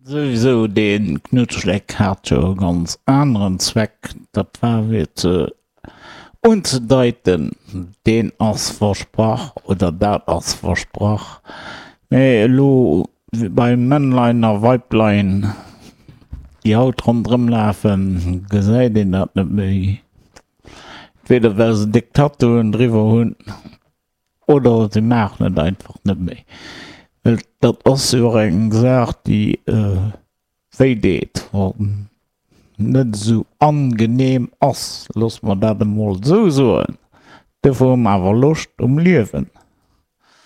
Souwisou, dee Knuddschleck hat jo e ganz aneren Zweck, dat war fir ze unzedeiten, deen ass versprach oder dat ass versprach. Mee elo bei Männlein a Weiblein, déi haut ronderëm lafen, gesäit een dat net méi. Entweder well se déck Tattooen driwwer hunn oder se maachen et einfach net méi. Well dat ass jo och eng Saach, déi wéi deet, wann net esou angenehm ass, loosse mer dat emol esou soen. Dofir hu mer awer Loscht um Liewen.